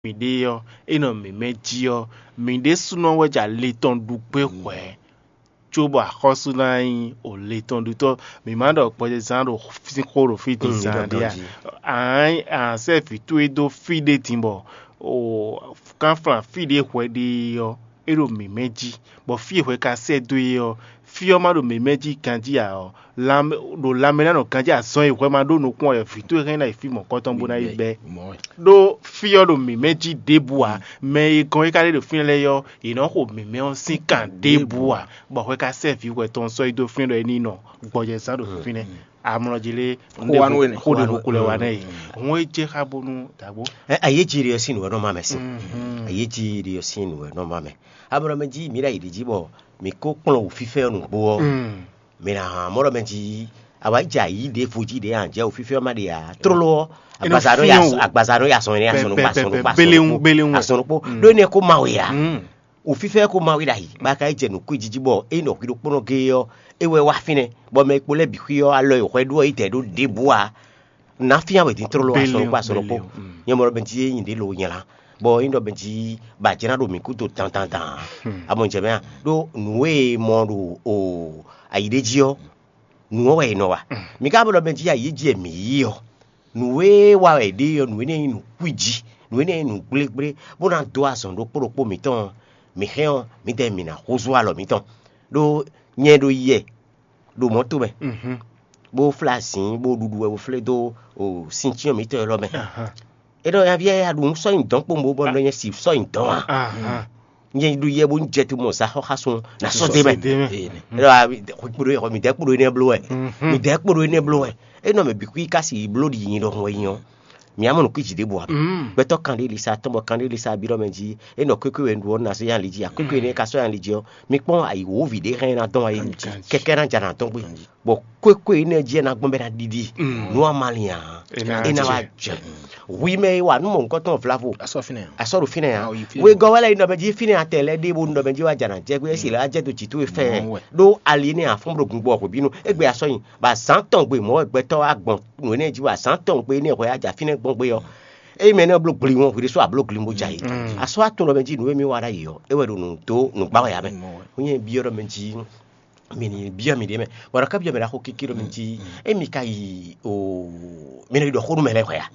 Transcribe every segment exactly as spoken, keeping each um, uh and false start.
mǐɖée ɔ́, é nɔ mǐmɛ́ jí ɔ́, mǐ ɖésúnɔ wɛ jɛ ali tɔn ɖu gbé hwɛ̌, cóbɔ axɔ́sú ná nyí o le tɔn ɖutɔ́. Mǐ ma ɖɔ gbɔjɛzán ɖo sín xó ɖo fí din zán ɖé a? Ǎ, sɛ́ vǐ towe dó fí ɖé din bɔ o kánflán fí ɖé hwɛ ɖe ɔ́, é ɖo mǐmɛ́ jí, bɔ fí e hwɛ ka sɛ́ dó é ɔ́, fí ɔ́ ma ɖo mǐmɛ́ jí ganjí ǎ ɔ́, lanmɛ ɖo lanmɛ ná nɔ ganjí azɔn e hwɛ ma ɖó nukún ɔ́ wɛ vǐ towe hɛn ná yi fí mɔ̌kɔtɔn bó ná yi bɛ́. Ɖó fí ɔ́ ɖo mǐmɛ́ jí ɖěbǔ ǎ. Mɛ e gɔn é ka ɖe ɖo fínɛ́ lɛ́ɛ ɔ́, yě nɔ xo mǐmɛ́ ɔ́ sín kan ɖěbǔ ǎ, bɔ hwɛ ka sɛ́ vǐ hwɛ tɔn sɔ́ yi dó fínɛ́ ɖɔ é ní nɔ gbɔjɛzán ɖo fínɛ́. Amlɔ jí lé Xó wa nú we nɛ. Xó ɖe nukú lɛ wa nɛ yi. Hɔn é jɛ xá bónú dǎgbó. Ɛ, ayéjiri ɔ́ sín nǔ wɛ nɔ ma mɛ sín. Ayéjiri ɔ́ sín nǔ wɛ nɔ ma mɛ. Amlɔ mɛ jí mǐ ɖo ayi ɖě jí bɔ mǐ kó kplɔ́n wǔfífɛ́ ɔ́ nǔgbó ɔ́, mǐ ná hán mɔ̌ ɖɔ mɛ jí awǎ jɛ ayǐ ɖěvo jí ɖě ǎ jɛ wǔfífɛ́ ɔ́ má ɖe ǎ. Tlóló ɔ́, Agbaza nɔ ya sɔn, agbaza nɔ ya sɔn énɛ́, asɔn nɔ kpa, asɔn nɔ kpa, asɔn nɔ kpó, asɔn nɔ kpó. Ɖó énɛ́ kó ma we ǎ. Wǔfífɛ́ ko ma wí ɖ'ayǐ, bɔ a ka yi jɛ nǔ kwíji jí bɔ é nɔ hwi ɖokpónɔ géé ɔ́, é wɛ wá fínɛ́, bɔ mɛ e kpo lɛ́ɛ bǐ xwí ɔ́, alɔ e hwɛ ɖó ɔ́ yi dɛ̌ ɖó ɖěbǔ ǎ. Nǎ fíán wɛ din tlóló asɔnukpó asɔnukpó. Nyɛ mɔ ɖɔ bɛn jí é nyi ɖě lo nyla, bɔ é nyí ɖɔ bɛn jí ba jlá ɖo mǐ kúdo dandandan. A mɔ jɛ mɛ a? Ɖó nǔ e mɔ ɖo o ayi ɖé jí ɔ́, nǔ ɔ́ wɛ è nɔ wa. Mǐ ka mɔ ɖɔ bɛn jí ayi jí e mǐ yí ɔ́, nǔ e wa wɛ è ɖe ɔ́, nǔ énɛ́ nyí nǔ kwíji, nǔ énɛ́ nyí nǔ gblégblé, bó ná dó azɔn ɖokpó ɖokpó mǐtɔn ɔ́, mǐ hɛn ɔ́, mǐdɛɛ mǐ ná húzú alɔ mǐtɔn. Ɖó nyɛ ɖo yɛ ɖo mɔ̌ tomɛ, bó flá azǐn, bó ɖuɖu wɛ bó flé dó sincyɔ́n mǐtɔn élɔ́ mɛ. É ɖɔ nyaví ya ɖu nǔ sɔ́ nyi dɔ̌n kpowun bó bɔ nɔ nyɛ si sɔ́ nyi dɔ̌n ǎ. Nyɛ ɖu yɛ bó jɛ te mɔ zǎxɔ́ xá sun ná sɔ́ dé mɛ. É ɖɔ midɛɛ kpo ɖo énɛ́ bló wɛ. Midɛɛ kpo ɖo énɛ́ bló wɛ. É nɔ mɛ bǐ kú yi ká si yi bló ɖi nyi ɖɔhun wɛ nyi ɔ́, mǐ á mɔ nǔ kwíji ɖěbǔ ǎ. Gbɛtɔ́ kanɖélisa tɔn bɔ kanɖélisa bí ɖɔ mɛ jí é nɔ kwékwe wɛ un ɖu ɔ́, un ná sɔ́ nyi ali jí ǎ. Kwékwe énɛ́ ka sɔ́ nyi ali jí ɔ́, mi kpɔ́n ayǐwǒvi ɖě hɛn ná dɔn wá yi kɛkɛ ná jɛ nǎ dɔn gbé. Bɔ kwékwe énɛ́ jí é ná gbɔn bɔ é ná ɖiɖi nú a ma lin ǎ, é ná wá jɛ. Hwi mɛ e wa nú mɔ̌hunkɔtɔn vlavo, a sɔ́ ɖo fínɛ́ ǎ. Wegɔ́ wɛ lɛ́ɛ yi nɔ mɛ jí fínɛ́ atɛ lɛ́ɛ ɖěbǔ nɔ mɛ jí wá jɛ nǎ jɛ gbé, é si lɛ́ wá jɛ dó jǐ towe fɛ́ɛ. Ɖó ali énɛ́ a fɔ́n ɖo gun gbɔ hwebǐnu, égbé a sɔ́ nyi, bɔ azǎn tɔn gbe mɔ̌ wɛ gbɛtɔ́ wá gbɔn nǔ énɛ́ jí, bɔ azǎn tɔn gbe énɛ́ hwɛ a jɛ fínɛ́ gbɔn gbé ɔ́, ényí mɛ énɛ́ bló gli wɔn hwi ɖésú a bló gli bó jɛ ayǐ. A sɔ́ atún ɖɔ mɛ jí nǔ e mì wa ɖ'ayǐ ɔ́, é wɛ ɖo nǔ dó nǔgbá wɛ ǎ mɛ. Ó nyɛ byɔ́ ɖɔ mɛ jí mi ní byɔ́ mì ɖě mɛ, bɔ ɖɔ ká byɔ́ mɛ ɖaxó kéké ɖɔ mɛ jí émi ka yi o mi nɔ yi ɖɔ xó nú mɛ lɛ́ɛ hwɛ a?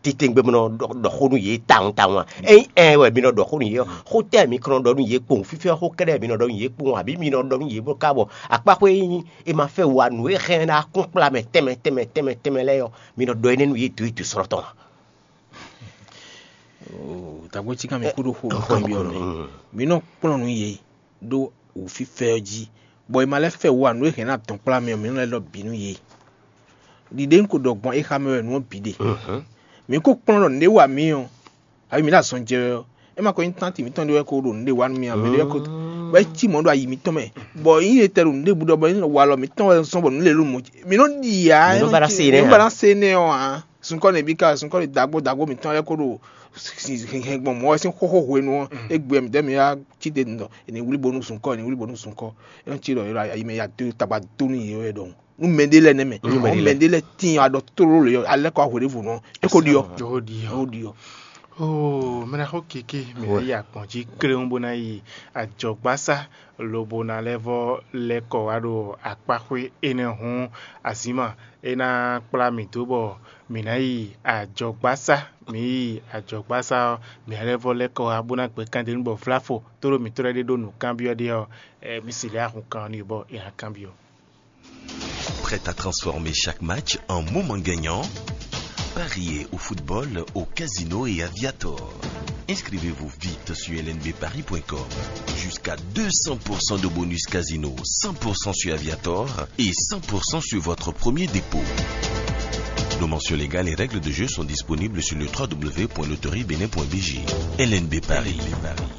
Titewungbe mi nɔ ɖɔ xó nú yě tawun tawun a? Ényí ɛ wɛ mi nɔ ɖɔ xó nú yě ɔ́, xó tɛ́ mi kɔn nɔ ɖɔ nú yě kpowun? Fífɛ́ xó kɛ́ɖɛ́ mi nɔ ɖɔ nú yě kpowun, abǐ mi nɔ ɖɔ nú yě bó ká bɔ akpáxwé e nyí è ma fɛ wa nǔ e hɛn ná kún kplá mɛ tɛnmɛ tɛnmɛ tɛnmɛ tɛnmɛ lɛ́ɛ ɔ́, mi nɔ ɖɔ énɛ́ nú yě dǒ yi dǒ srɔ́ tɔn a? Dǎgbó cí ká mi kú ɖó xó tɔn byɔ́ mɛ. Mi nɔ kplɔ́n nǔ yě ɖó wǔfífɛ́ ɔ́ jí, bɔ è ma lɛ́ fɛ wú ǎ nǔ e hɛn ná dɔn kplá mi ɔ́, mi nɔ lɛ́ ɖɔ bǐ nú yě. Ɖiɖe un ko ɖɔ gbɔn é xa mɛ wɛ nǔ ɔ́ bǐ ɖe. Mi ko kplɔ́n ɖɔ nǔɖé wa mǐ ɔ́, abǐ mǐ ɖo azɔn jɛ wɛ ɔ́, é ma ko nyí tánti mǐtɔn ɖé wɛ ko ɖo nǔɖé wa nú mì ǎ, mɛ ɖé wɛ ko bɔ é cí mɔ̌ ɖo ayi mǐtɔn mɛ, bɔ nyí etɛ ɖo nǔɖé bǔ ɖɔ bɔ é nɔ wa alɔ mǐtɔn wɛ zɔ́n bɔ nǔ lě ɖo mɔ jí. Mi nɔ ɖi ǎ, mi nɔ ba ná se énɛ́ ǎ. Ba ná se énɛ́ ɔ́ ǎ. Sunkɔ́ nɛbí ka sunkɔ́ nɛ dǎgbó dǎgbó mǐtɔn lɛ́ɛ ko ɖo hɛn gbɔn mɔ̌ wɛ sín xóxó hwenu ɔ́, égbé mǐdɛɛ mǐ wá cí te ɖɔ è nǐ wlí bónú sunkɔ́, è nǐ wlí bónú sunkɔ́. É nɔ cí ɖɔ è nɔ ayi mɛ ya dó tagba dó nú yě wɛ ɖɔhun. Nú mɛɖé lɛ́ɛ nɛ́ mɛ, nú mɛɖé lɛ́ɛ tíin aɖɔ tlóló lě ɔ́, alɛ́ kɔ hwe ɖěvo nɔ é ko ɖiɔ. Ó ɖiɔ. Ó ɖiɔ. Oo, mɛ ná xɔ kéké mɛ ná yi akpɔn jí kléwún bó ná yi ajɔgbásá lobo ná lɛ́ vɔ́ lɛ́ kɔ wá ɖo akpáxwé énɛ́ hɔ́n azǐma é ná kplá mì dó bɔ mǐ ná yi ajɔgbásá. Mǐ yi ajɔgbásá ɔ́, mǐ ná lɛ́ vɔ́ lɛ́ kɔ wá bó ná gbɛ́ kandénú bɔ vláfo tóɖó mǐtɔn lɛ́ɛ ɖé ɖó nǔkanbyɔ́ ɖé ɔ́, ɛ, mǐ si lɛ́ ahun kan ɔ́ n'i bɔ è nǎ kanbyɔ́. Prêt à transformer chaque match en moment gagnant? Pariez au football, au casino et à Viator. Inscrivez-vous vite sur L N B paris point com. Jusqu'à deux cents pour cent de bonus casino, cent pour cent sur Aviator et cent pour cent sur votre premier dépôt. Nos mentions légales et règles de jeu sont disponibles sur le trois W point loterie bénin point B G. L N B Paris,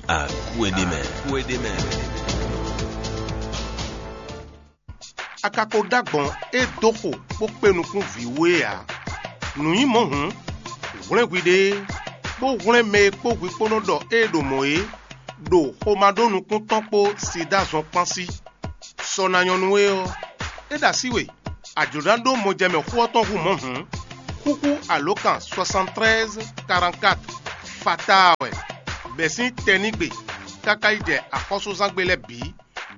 à coin des mains. A ka ko ɖó agbɔ̌n e dó xo bó kpé nukún vǐ wú é ǎ. Nǔ nyí mɔ̌ hǔn, hwlɛ́n hwiɖée, bó hwlɛ́n mɛ e kpó hwi kpó nɔ ɖɔ ée ɖo mɔ̌ é, ɖo xomá ɖó nukún tɔn kpó sida zɔn kpán sí. Sɔ ná nyɔ́ nú we ɔ́, é ɖo así we, a jlǒ ná ɖó mɔjɛmɛ xó ɔ́ tɔn hú mɔ̌ hǔn, xúxú alǒkan soixante-treize quarante-quatre. fatáa wɛ, bɛ̌ sín tɛnígbe káká yi jɛ axɔ́súzángbe lɛ́ɛ bǐ,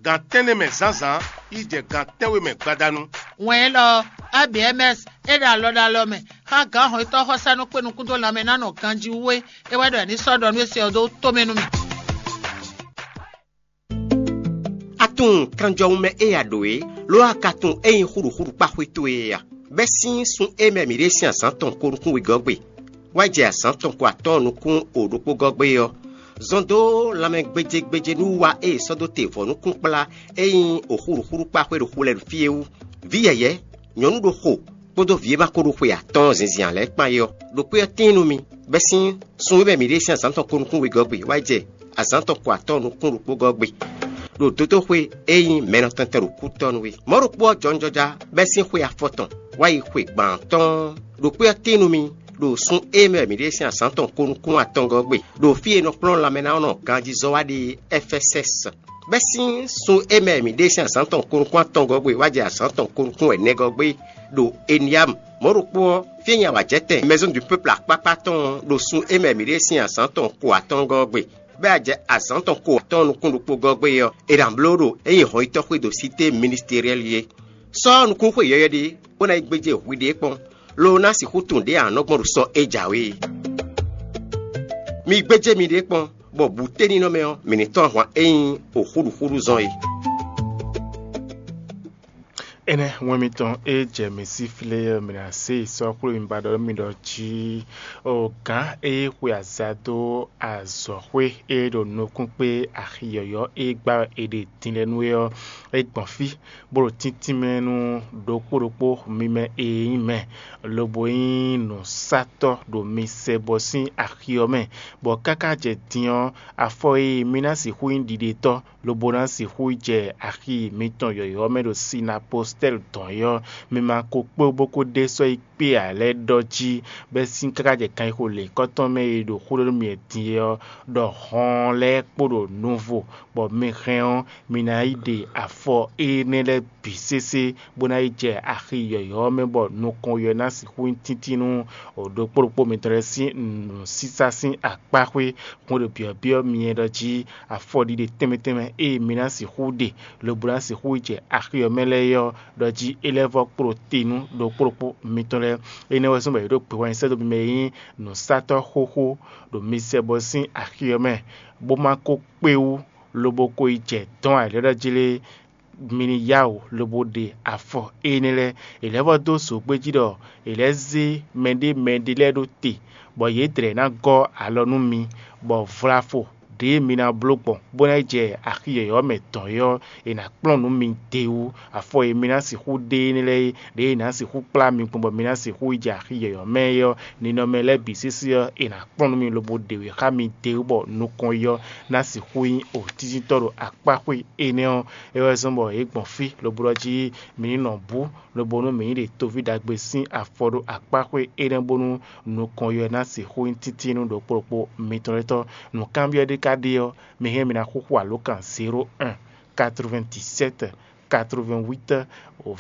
gan tɛ́nnɛ mɛ zǎnzǎn yi jɛ gan tɛ́nwe mɛ gbadanu. Wɛn élɔ́, A B M S e ɖo alɔ ɖo alɔ mɛ xá gǎn hɔnnyitɔ́ xɔsánú kpé nukún dó lanmɛ ná nɔ ganjí wú é, é wɛ ɖɔ è ní sɔ́ ɖɔ nú é se ɔ́ dó tomɛ nú mì. A tunwun kanjɔwun mɛ e a ɖǒ é, lo a ka tunwun ényí xúɖuxúɖu kpá xwé towe é a? Bɛ́ sín sun e mɛ mǐ ɖe sín azǎn tɔn ko nukún wegɔ́ gbe, wá jɛ azǎn tɔn ko atɔ́ɔ́n nukún o ɖokpó gɔ́ gbe ɔ́, zɔn dó lanmɛ gbéjégbéjé nú wa e è sɔ́ dó te vɔ̌ nukún kplá e nyí oxúɖuxúɖu kpá xwé ɖo xu lɛ́ɛ ɖo fí é wú. Vǐ yɛ̌yɛ́, nyɔ̌nu ɖokxo kpódó vǐ e ma ko ɖo xwe atɔ́ɔ́n zinzin ǎ lɛ́ɛ kpán é ɔ́, ɖo kpé ɔ́ tíin nú mi, bɛ́ sín sun e mɛ mǐ ɖe sín azǎn tɔn ko nukún wegɔ́ gbe wá jɛ azǎn tɔn ko atɔ́ɔ́n nukún ɖokpó gɔ́ gbe, ɖo dótóxwe e nyí mɛnɔtɛntɛ ɖo kútɔ́ nú é. Mɔ̌ ɖokpó ɔ́ jɔnjɔ́já bɛ́ sín xwe afɔtɔn wá yi xwe gban atɔ́ɔ́n, ɖo kpé ɔ́ tíin nú mi, ɖo sun e mɛ mǐ ɖe sín azǎn tɔn ko nukún atɔngɔ́ gbe, ɖo fí e è nɔ kplɔ́n lanmɛnánɔ ganjízɔ́ wá ɖe Ɛfɛsɛ́si. Bɛ́ sín sun e mɛ mǐ ɖe sín azǎn tɔn ko nukún atɔngɔ́ gbe wá jɛ azǎn tɔn ko nukún ɛnɛgɔ́ gbe ɖo Eniyamu. Mɔ̌ ɖokpó ɔ́, fí e nyi awǎjɛtɛn Maison du Peuple akpákpá tɔn ɔ́, ɖo sun e mɛ mǐ ɖe sín azǎn tɔn ko atɔngɔ́ gbe, bɔ é wá jɛ azǎn tɔn ko atɔ́ɔ́n nukún ɖokpó gɔ́ gbe ɔ́, è nǎ bló ɖo é nyí hɔnyitɔ́ xwé ɖo Sité Ministeriɛ́li é. Sɔ́ nukúnxwe yɔywɛ ɖé, bó ná yi gbéjé hwi ɖé kpɔ́n, lo ná sixú tunwun ɖě a nɔ gbɔn ɖo sɔ e jǎwe é. Mi gbéjé miɖée kpɔ́n, bɔ bǔténinɔmɛ ɔ́, mǐ ní tɔ́n ahwan e nyí oxúɖuxúɖu zɔn é. Énɛ́ wɛn mitɔn e jɛ mǐ sí flé ɔ́, mǐ ná se yi sɔ́ xwlé mi ba ɖɔ mi ɖɔ jí o gǎn e xwe aza dó azɔ̌xwé e ɖo nukún kpé axi yɔ̌yɔ́ e gbá wɛ è ɖe din lɛ́ɛ nú é ɔ́, é gbɔn fí, bó ɖo tíntín mɛ nú ɖokpó ɖokpó mi mɛ e nyí mɛ, lobo nyí nǔsatɔ́ ɖo mi sɛ bɔ sín axi ɔ́ mɛ, bɔ káká jɛ din ɔ́, afɔ e mi ná sixú nyí ɖiɖetɔ́, lobo ná sixú jɛ axi mitɔn yɔ̌yɔ́ mɛ ɖo sinapostɛ́li dɔn é ɔ́, mi ma ko kpé bó ko ɖe sɔ́ yi kpé ǎ lɛ́ɛ ɖɔ jí, bɛ́ sín káká jɛ ganxixo lěkɔ́tɔn mɛ e ɖo xó ɖɔ nú mi din é ɔ́, ɖɔ hɔn lɛ́ɛ kpo ɖo nuvo, bɔ mi hɛn ɔ́, mi ná yi ɖe afɔ énɛ́ lɛ́ɛ bǐ sésé, bó ná yi jɛ axi yɔ̌yɔ́ ɔ́ mɛ, bɔ nukɔn yɔ ná sixú nyí tíntín nú ɖokpó ɖokpó mitɔn lɛ́ɛ sín nǔsísá sín akpáxwé. Hwɛndo byɔ̌byɔ́ myɛ ɖɔ jí afɔɖiɖe tɛnmɛ tɛnmɛ e mi ná sixú ɖe, lobo ná sixú yi jɛ axi ɔ́ mɛ lɛ́ɛ é ɔ́, ɖɔ jí é lɛ́ vɔ́ kpló te nú ɖokpó ɖokpó mitɔn lɛ́ɛ. Énɛ́ wɛ zɔ́n bɔ yě ɖo gbe wá nyi sɛ́ dó mi mɛ e nyí nǔsatɔ́ xóxó ɖo mi sɛ bɔ sín axi ɔ́ mɛ, bó ma ko kpé wú, lobo ko yi jɛ dɔ̌n ayǐlɛ́ɖɔ jí lé, mi ní yá wǔ lobo ɖe afɔ énɛ́ lɛ́ɛ. È lɛ́ vɔ́ dó zǒgbé jí ɖɔ è lɛ́ zé mɛɖé mɛɖé lɛ́ɛ ɖó te, bɔ yě dlɛ̌ ná gɔ́ alɔ nú mi, bɔ vlafo ɖěe mi ná bló gbɔn, bó ná yi jɛ axi yɔ̌yɔ́ mɛ dɔn é ɔ́, è nǎ kplɔ́n nǔ mi d'é wú. Afɔ e mi ná sixú ɖe énɛ́ lɛ́ɛ é, ɖěe è nǎ sixú kplá mi gbɔn bɔ mi ná sixú yi jɛ axi yɔ̌yɔ́ mɛ é ɔ́, ninɔmɛ lɛ́ɛ bǐ sésé ɔ́, è nǎ kplɔ́n nú mi lobo ɖe wě xá mi d'é wú, bɔ nukɔn yɔ ná sixú nyí òtíntɔ́ ɖo akpáxwé énɛ́ ɔ́. É wɛ zɔ́n bɔ yě gbɔn fí lobo ɖɔ jí mi ní nɔ bú, lobo nú mǐ ní ɖe toví ɖagbe sín afɔ ɖo akpáxwé énɛ́ bónú nukɔn yɔ ná sixú nyí títí nú ɖokpó ɖokpó mitɔn lɛ́ɛ tɔn. Nǔkanbyɔ́ ɖé ka ɖe ɔ́, mi hɛn mi ná xúxú alǒkan zéro un, quatre-vingt-dix-sept, quatre-vingt-huit,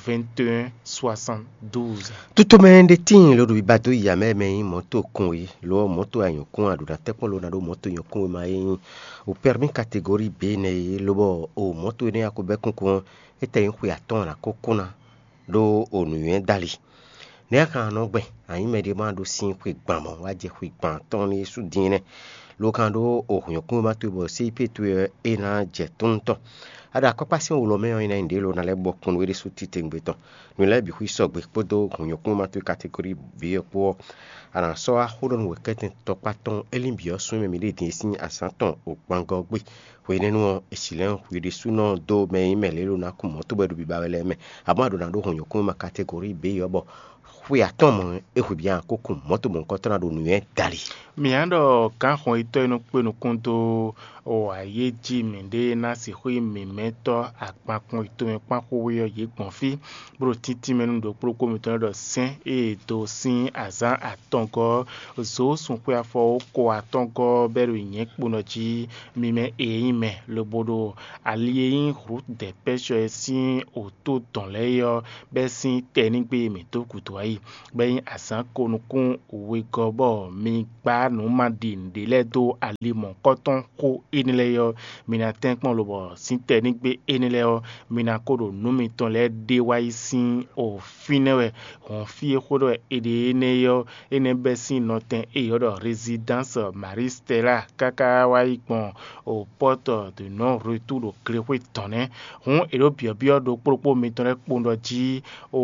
vingt et un, soixante-douze. Tutomɛ ɖé tíin ló ɖo biba dó yi amɛ mɛ nyí mɔ̌to kún é, lo ɔ́ mɔ̌to anyɔ̌kún a ɖo ná tɛ́kpɔ́n lo ná ɖó mɔ̌to nyɔ̌kún e ma é nyí o pɛ́rmí kategóri B nɛ́ é, lobɔ o mɔ̌to énɛ́ a ko bɛ́ kúnkún ɔ́, é tɛ nyí xwe atɔ́ɔ́n ná ko kún ná ɖó o nǔnywɛ́ dali. Nɛ̌ a ka nɔ gbɛn? A nyǐ mɛɖé ma ɖó sín xwe gban mɔ̌, wá jɛ xwe gban atɔ́ɔ́n ní Yésu dín nɛ́, lo kan ɖó o hǔnyɔ́kúnmɛ towe bɔ séípe towe ɔ́ é ná jɛ tónú tɔn. A ɖo akɔ́kpá sín wlɔ mɛ ɔ́, é ná nyí ɖě lo ná lɛ́ bɔ kún nú é ɖésú titewungbe tɔn. Nǔ lɛ́ɛ bǐ xwí sɔgbe kpódó hǔnyɔ́kúnmɛ towe kategóri B ɔ́ kpó ɔ́, a nǎ sɔ́ wá xó ɖɔ nú wěkɛ́tɛn tɔkpá tɔn Elín bǐ ɔ́ sú mɛ mǐ ɖe din sín azǎn tɔn o gbangɔ ɔ́ gbe. Hwenɛ́nu ɔ́, è si lɛ́ hwi ɖésúnɔ dó mɛ e nyí mɛ lě lo ná kún mɔ̌ tobɔ é ɖo biba wɛ lɛ́ɛ mɛ, amɔ̌ a ɖǒ ná ɖó hǔnyɔ́kúnmɛ kategóri B ɔ́ bɔ xwe atɔ́ɔ́n mɔ̌ é hwe bǐ a kó kún mɔ̌ tobɔ nukɔntɔn ná ɖo nǔnywɛ́ dali. Mǐ á ɖɔ gǎnxɔn yětɔn e nɔ kpé nukún dó wǎyéjí mǐɖée ná sixú nyí mǐmɛ́tɔ́ akpankpɔn yětɔn e kpán xwé ɔ́ yě gbɔn fí, bó ɖo tíntín mɛ nú ɖokpó ɖokpó mitɔn lɛ́ɛ ɖɔ sɛ́n e è dó sín azǎn atɔngɔ́ ɔ́, zǒ sun xwe afɔ ko atɔngɔ́ ɔ́ bɛ́ ɖo nyɛ̌kponɔ jí, mi mɛ e nyí mɛ, lobo ɖo ali e nyí Hlǔdɛ̌pɛ́sɔ ɔ́ sín wǔtó dɔn lɛ́ɛ é ɔ́ bɛ́ sín tɛnígbe e mǐ dó gǔdo wá yi. bɔ é nyí azǎn ko nukún wegɔ́ bɔ mi gbá nǔ ma ɖi nǔɖé lɛ́ɛ dó ali mɔ̌hunkɔtɔn xó énɛ́ lɛ́ɛ ɔ́, mi ná tɛ́nkpɔ́n lobɔ sín tɛnígbe énɛ́ lɛ́ɛ ɔ́, mi ná ko ɖo nǔ mitɔn lɛ́ɛ ɖe wá yi sín o fínɛ́ wɛ hɔn fí e xó ɖɔ è ɖe énɛ́ ɔ́, énɛ́ bɛ́ sín nɔtɛn e è ylɔ́ ɖɔ Résidence Marie Stella káká wá yi gbɔn o Porte de non retour ɖo glexwé tɔn nɛ́. Hǔn è ɖǒ byɔ̌byɔ́ ɖokpó ɖokpó mitɔn lɛ́ɛ kpowun ɖɔ jí o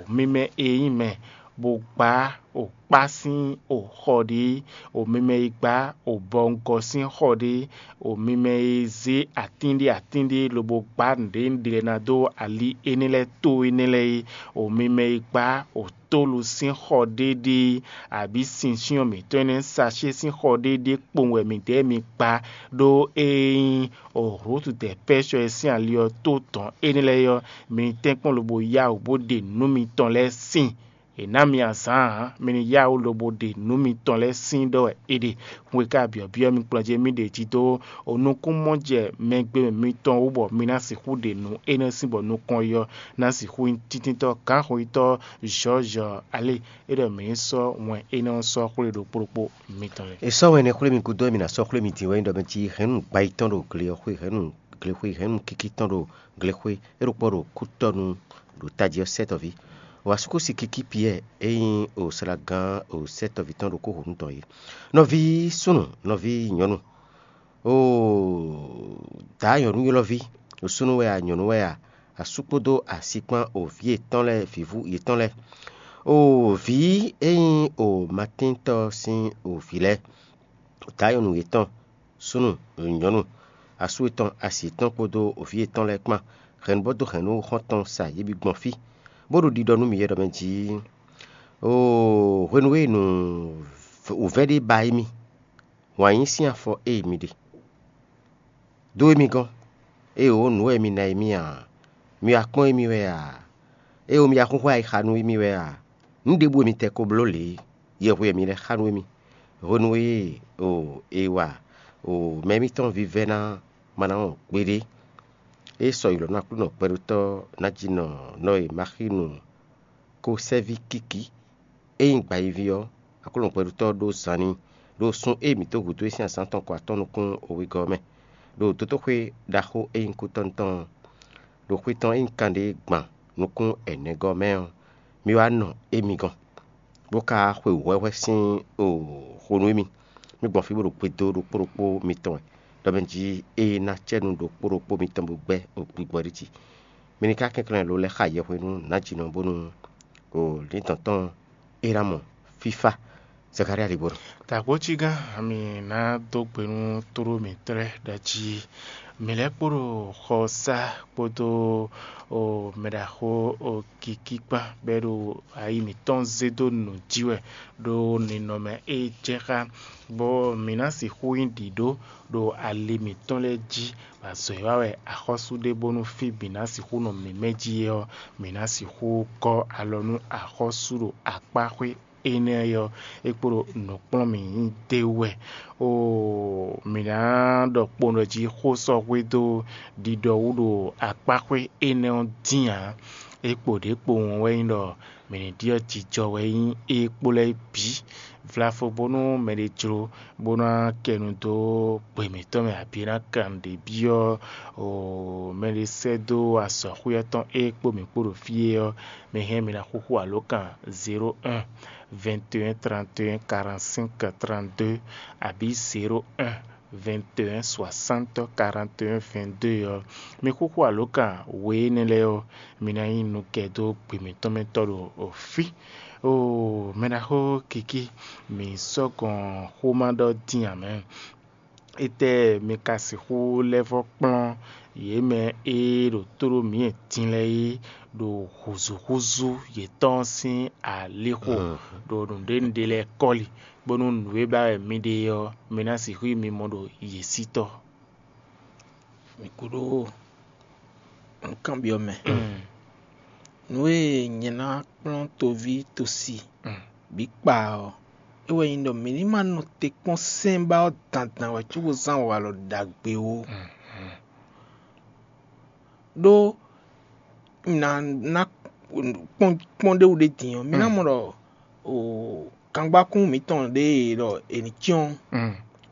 mi mɛ e nyí mɛ bó gbá o kpá sín o xɔ ɖé, o mi mɛ e gbá o bɔngɔ sín xɔ ɖé, o mi mɛ e zé atín ɖé atín ɖé lobo gbá nǔɖé nǔɖé lɛ́ɛ ná dó ali énɛ́ lɛ́ɛ tó énɛ́ lɛ́ɛ é, o mi mɛ e gbá o tólu sín xɔ ɖé ɖé, abǐ sinsyɔ́n mǐtɔn énɛ́ sacé sín xɔ ɖé ɖé kpowun wɛ midɛɛ mi gbá, ɖó ée nyí o Hlutudɛ̌pɛ́sɔ e sín ali ɔ́ tó dɔn énɛ́ lɛ́ɛ ɔ́, mi ní tɛ́nkpɔ́n lobo yá wǔ bó ɖe nǔ mitɔn lɛ́ɛ sin. È nǎ mi azǎn ǎ, mi ní yá wǔ lobo ɖe nǔ mitɔn lɛ́ɛ sín ɖɔ wɛ é ɖe. Hun e ka byɔ̌byɔ́ mi kplɔ́njé mì ɖe jí dó o nukúnmɔjɛ mɛgbémɛ mitɔn wú bɔ mi ná sixú ɖe nǔ énɛ́ sín bɔ nukɔn yi ɔ́ ná sixú nyí tíntítɔ́ gǎnxoyítɔ́ Jɔ̌jɔ alé é ɖɔ mǐ ní sɔ́ wɛn énɛ́ ɔ́ sɔ́ xwlé ɖokpó ɖokpó mitɔn lɛ́ɛ. È sɔ́ wɛn énɛ́ xwlé mi gúdo wɛ mǐ ná sɔ́ xwlé mi din wɛ nyí ɖɔ mɛ jí hɛ̌nnu gbayí tɔn ɖo gle ɔ́ xwé, hɛ̌nnu glexwé, hɛ̌nnu kíkí tɔn ɖo glexwé, é ɖokpó ɖo kútɔ́nu ɖo tají ɔ́ sɛ́tɔ́ví. Wǎsúkúsi kíkí Piyɛ́ɛ e nyí o slagán o sɛ́tɔ́ví tɔn ɖokpó hǒnú tɔn é. Nɔví súnnu, nɔví nyɔ̌nu, oo, dǎ nyɔ̌nu ylɔ́ví, o súnnu wɛ a, nyɔ̌nu wɛ a, asú kpódó asi kpán o vǐ yětɔn lɛ́ɛ, vǐvú yětɔn lɛ́ɛ, oo, vǐ e nyí o Matíntɔ́ sín o vǐ lɛ́ɛ, dǎ nyɔ̌nu yětɔn, súnnu, nyɔ̌nu, asú yětɔn, asi yětɔn kpódó vǐ yětɔn lɛ́ɛ kpán, hɛ̌nnu bɔ dó hɛ̌nnu xɔ́ntɔn sa yě bǐ gbɔn fí, bó ɖo ɖiɖɔ nú mǐ yɛ ɖɔ mɛ jí, oo, hwenu e nǔ wǔvɛ́ ɖé ba émí, wǎn yí sín afɔ e mi ɖe dó émí gɔ́n, ée wǒ nǔ wɛ mi ná émí ǎ, mi wá kpɔ́n émí wɛ a? Ée wǒ mi wá xúxú ayixa nú émí wɛ a? Nǔ ɖěbǔ e mi tɛ ko bló lě é, yɛhwe wɛ mi lɛ́ xa nú émí. Hwenu e o è wa o mɛ émítɔn vívɛ́ ná ma ná wɔn gbeɖé, é sɔ yi lɔ̌ nú Aklúnɔ gbɛɖótɔ́ ná jí nɔ nɔ e Maxínu ko sɛ́ví kíkí, é nyí gbayiví ɔ́, Aklúnɔ gbɛɖótɔ́ ɖó zan n'i, ɖo sun e mǐ dó gǔdo é sín azǎn tɔn kɔ atɔ́ nukún wegɔ́ ɔ́ mɛ, ɖo dotóxwé ɖaxó e nyí kútɔ́nu tɔn ɔ́, ɖo xwe tɔn e nyí kanɖé gban nukún ɛnɛgɔ́ mɛ ɔ́, mi wá nɔ émí gɔ́n, bó ka xwe wǔhwɛ́hwɛ́ sín xo nú émí. Mi gbɔn fí bó ɖo gbedo ɖokpó ɖokpó mitɔn wɛ, ɖɔ mɛ jí é ná cɛ́ nú ɖokpó ɖokpó mitɔn bó gbɛ́ gbigbɔ ɖé jí. Mi ní ka kɛnklɛ́n lo lɛ́ xa yɛhwenu nǎjínɔ bónú lǐndɔ̌n tɔn é ná mɔ fífá. Zakaria ɖi bó ɖɔ: Dǎgbójígán, mi ná dó gbe nú tló mǐtɔn lɛ́ɛ ɖɔ jí mǐ lɛ́ kpo ɖo xɔsá kpódó mɛɖaxó kikí kpán bɔ é ɖo ayi mǐtɔn zé dó nǔ jí wɛ ɖo ninɔmɛ e jɛ xá, bɔ mǐ ná sixú nyí ɖǐɖó ɖo ali mǐtɔn lɛ́ɛ jí, bɔ azɔ̌ e wa wɛ axɔ́sú ɖe bónú fí bǐ ná sixú nɔ mǐmɛ́ jí é ɔ́, mǐ ná sixú gɔ́ alɔ nú axɔ́sú ɖo akpáxwé énɛ́ ɔ́, é kpo ɖo nǔkplɔ́nmǐ d'é wú wɛ. Oo, mǐ ná ɖɔ kpowun ɖɔ jí xó sɔ́ hwedó ɖiɖɔ wú ɖo akpáxwé énɛ́ ɔ́ dín ǎ. É kpo ɖě kpowun ɔ́ wɛ nyí ɖɔ mǐ ní ɖyɔ́ jijɔ wɛ nyí é kpó lɛ́ɛ bǐ. Vlafo bónú mɛɖé jló bó ná kɛ nu dó gbe mǐtɔn mɛ abǐ é ná kan nǔɖé byɔ́ oo mɛɖé sɛ́ dó azɔ̌xwé ɔ́ tɔn é kpó mǐ kpó ɖo fí é ɔ́, mi hɛn mi ná xúxú alǒkan zéro un, vingt et un, trente et un, quarante-cinq, trente-deux abǐ zéro un, vingt et un, soixante, quarante et un, vingt-deux ɔ́, mi xúxú alǒkan we énɛ́ lɛ́ɛ ɔ́, mi ná nyí nukɛ dó gbe mǐtɔn mɛ tɔ́ ɖo fí. Oo, mɛɖaxó Kiki, mǐ sɔ́ gɔn xóma ɖɔ dín ǎ mɛ. Étɛ́ mi ka sixú lɛ́ vɔ́ kplɔ́n yě mɛ e ɖo tó ɖó mǐ din lɛ́ɛ é ɖo hǔzúhúzú yětɔn sín alixo ɖo nǔɖénúɖé lɛ́ɛ kɔ́li, bónú nǔ e ba wɛ mi ɖe ɔ́, mi ná sixú nyí mimɔ ɖo yě sí tɔ́? Mi kú ɖó nǔkanbyɔ́ mɛ. Nǔ e nyɛ ná kplɔ́n toví tosi bǐ kpa ɔ́, é wɛ nyí ɖɔ mǐ ní ma nɔ te kpɔ́n sɛ́nbá ɔ́ dandan wɛ cóbó zán walɔ ɖagbe ó. Ɖó un ná ná kpɔ́n kpɔ́n ɖé wú ɖé din ɔ́, mi ná mɔ ɖɔ o kangbákún mǐtɔn ɖé e ɖɔ è nǐ cyɔ́n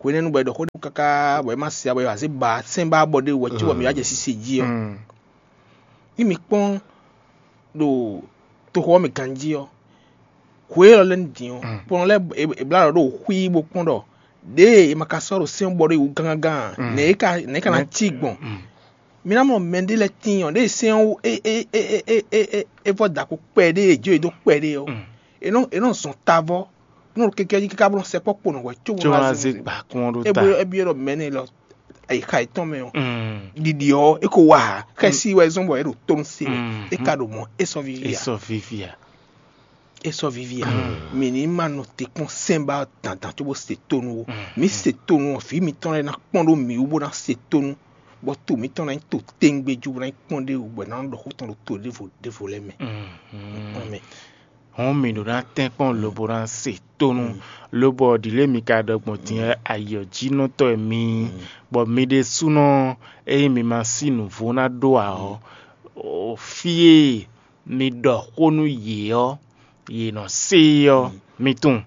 hwenɛ́nu bɔ è ɖɔ xó ɖé káká bɔ é má se ǎ bɔ è wǎ zé ba sɛ́n ba bɔ ɖé wú wɛ cóbɔ mǐ wá jɛ sise jí ɔ́. Ní mi kpɔ́n ɖo toxo ɔ́ mɛ ganjí ɔ́, hwe élɔ́ lɛ́ɛ ní din ɔ́, kplɔn lɛ́ɛ è blá ɖɔ ɖo xwí bó kpɔ́n ɖɔ ɖěe è ma ka sɔ́ ɖo sɛ́n bɔ ɖó yi wú gángán ǎ, nɛ̌ é ka nɛ̌ é ka ná cí gbɔn? Mi ná mɔ mɛɖé lɛ́ɛ tíin ɔ́, ɖěe sɛ́n ɔ́ é é é é é é é vɔ́ da ko kpɛɖé, è jó yě dó kpɛɖé ɔ́, è nɔ è nɔ zɔn tavɔ nɔ kɛkɛ jí káká bó nɔ sɛkpɔ́ kpo nɔ hwɛ có bó ná zé gbǎkún ɔ́ ɖó ta. É byɔ́ ɖɔ mɛ̌ nɛ lɔ ayixa yětɔn mɛ ɔ́, ɖiɖi ɔ́ é ko wa ǎ. Xɛsi wɛ zɔ́n bɔ é ɖo tónú se wɛ. É ka ɖo mɔ̌ é sɔ́ víví ǎ. Sɔ́ víví ǎ. É sɔ́ víví ǎ. Mǐ ní ma nɔ te kpɔ́n sɛ́n ba dandan cóbó se tónú ó. Mǐ se tónú ɔ́, vǐ mitɔn lɛ́ɛ ná kpɔ́n ɖó mǐ wú bó ná se tónú, bɔ to mǐtɔn ná nyí to téŋgbéjú bó ná nyí kpɔ́n ɖé wú bɔ è nǎ nɔ ɖɔ xó tɔn ɖo to ɖěvo ɖěvo lɛ́ɛ mɛ. Hɔn mǐ ɖo ná tɛ́nkpɔ́n lobo ná se tónú, lobɔ ɖǐlé mi ka ɖɔ gbɔn din ɔ́, ayǐ ɔ́ jí nɔ tɔ́ wɛ mi nyí, bɔ mi ɖésúnɔ ényí mi ma sí nǔvó ná ɖó ǎ ɔ́, fí e mi ɖɔ xó nú yě ɔ́, yě nɔ se é ɔ́, mi tunwun.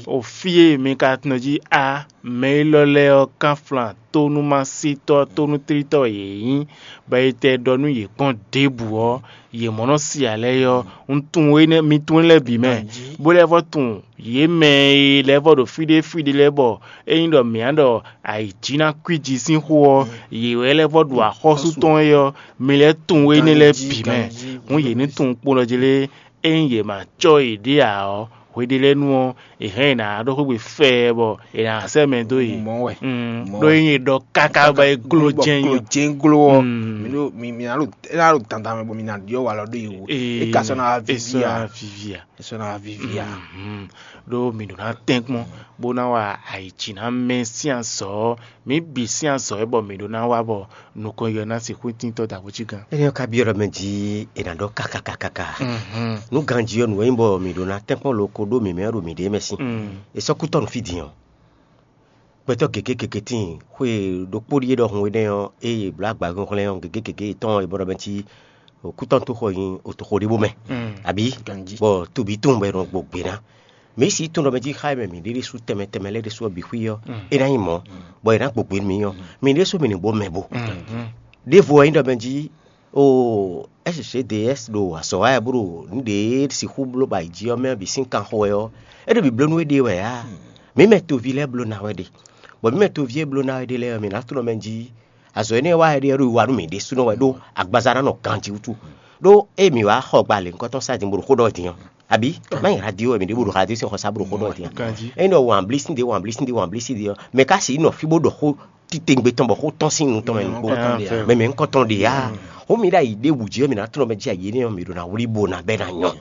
O fí e mi ka tunɔ jí á, mɛ élɔ́ lɛ́ɛ ɔ́, kánflán tónúmásítɔ́ tónútlítɔ́ wɛ yě nyí, bɔ è tɛ ɖɔ nú yě kpɔ́n ɖěbǔ ɔ́, yě mɔ nɔ si ǎ lɛ́ɛ ɔ́, un tunwun énɛ́, mi tunwun énɛ́ lɛ́ɛ bǐ mɛ, bó lɛ́ vɔ́ tunwun yě mɛ e lɛ́ vɔ́ ɖo fí ɖé fí ɖé lɛ́ɛ bɔ ényí ɖɔ mǐ á ɖɔ ayǐjínakúiji sín xó ɔ́, yě wɛ lɛ́ vɔ́ ɖu axɔ́sú tɔn é ɔ́, mi lɛ́ tunwun énɛ́ lɛ́ɛ bǐ mɛ. Hǔn yě ní tunwun kpo nɔ jí lé, ényí yě ma cɔ́ yěɖée ǎ ɔ́, hweɖélɛ́nu ɔ́, è hɛn è nǎ ɖó xwé gbe fɛɛ bɔ è nǎ sɛ́ mɛ dó yě. Mɔ̌ wɛ. Mm, Mɔ̌ ɖó wɛ. Ényí è ɖɔ káká bɔ é gló Bɔ jɛ́n gló nyí. Jɛ́n gló ɔ́, Mm. mi ɖo mi mi ná ɖo é ná ɖo dandan mɛ bɔ mi ná ɖyɔ́ walɔ ɖó yě wú. Ee, É ka sɔ́ ná wá é viví sɔ́ ná ǎ. Viví ǎ. É sɔ́ ná wá viví ǎ. Mhm. Ɖó mi ɖo ná tɛ́nkpɔ́n bó ná wa ayǐjínamɛ sín azɔ̌ ɔ́, mǐ bǐ sín azɔ̌ é bɔ mǐ ɖó ná wá bɔ nukɔn yɔ ná sixú tíntɔ́ dǎgbó cí gán. Énɛ́ ɔ́ ka byɔ́ ɖɔ mɛ jí è nǎ ɖɔ káká káká. Nú ganjí ɔ́, nǔ e nyí bɔ mǐ ɖó ná tɛ́nkpɔ́n lo ko ɖó mǐmɛ́ ɖo mǐɖée mɛ sín. È sɔ́ kútɔ́ nǔ fí din ɔ́. Gbɛtɔ́ gěgé gěgé tíin, xwe ɖokpó ɖíe ɖɔhun énɛ́ ɔ́, ée è blǒ agbaxínxlɛ́n ɔ́, gěgé gěgé yětɔn ɔ́, è bɔ ɖɔ mɛ cí kútɔ́ tó xɔ nyi òtoxo ɖé bó mɛ, abǐ? Ganjí. Bɔ tobǐ tɔn bɔ è nɔ gbɔ gbě ná. Mǐ sixú tunwun ɖɔ mɛ jí xá e mɛ mǐ ɖe ɖésú tɛnmɛ tɛnmɛ lɛ́ɛ ɖésú ɔ́ bǐ xwí ɔ́, é ná nyí mɔ̌, bɔ è nǎ gbɔ gbě nú mǐ ɔ́, mǐ ɖésú mǐ ní bó mɛ bó. Ɖěvo ɔ́ nyí ɖɔ mɛ jí o S C D S ɖo azɔ̌ wa wɛ bó ɖo nǔ ɖě sixú bló ba yi jí ɔ́ mɛ bǐ sín kan xo wɛ ɔ́, é ɖo bǐbló nú éɖée wɛ ǎ. Mǐ mɛ toví lɛ́ɛ bló ná wɛ ɖe, bɔ mǐ mɛ toví e bló ná wɛ ɖe lɛ́ɛ ɔ́, mǐ ná tunɔ mɛ jí azɔ̌ énɛ́ wa wɛ ɖe ɔ́ ɖo wiwa nú mǐ ɖésúnɔ wɛ ɖó agbaza ná nɔ ganjí wútu. Ɖó ée mǐ wá xɔ gba lěhunkɔtɔn sá din bó ɖo xó ɖɔ din ɔ́, abǐ má nyí radio wɛ mǐ ɖe bó ɖo radio sín xɔ sá bó ɖo xó ɖɔ din ɔ́, é nɔ wɔn blísín ɖé wɔn blísín ɖé wɔn blísín ɖé ɔ́, mɛ ka sixú nɔ fí bó ɖɔ xó titewungbe tɔn bɔ xó tɔ́n sín nu tɔn mɛ nukpó. Mɛ mɛ ŋkɔ tɔn ɖe ya. Xó mi ɖo ayi ɖé wǔ jí ɔ́, mǐ ná tlɔ́n mɛ jí ayi énɛ́ ɔ́, mǐ ɖo ná wlí bo ná bɛ́ ná nyɔ.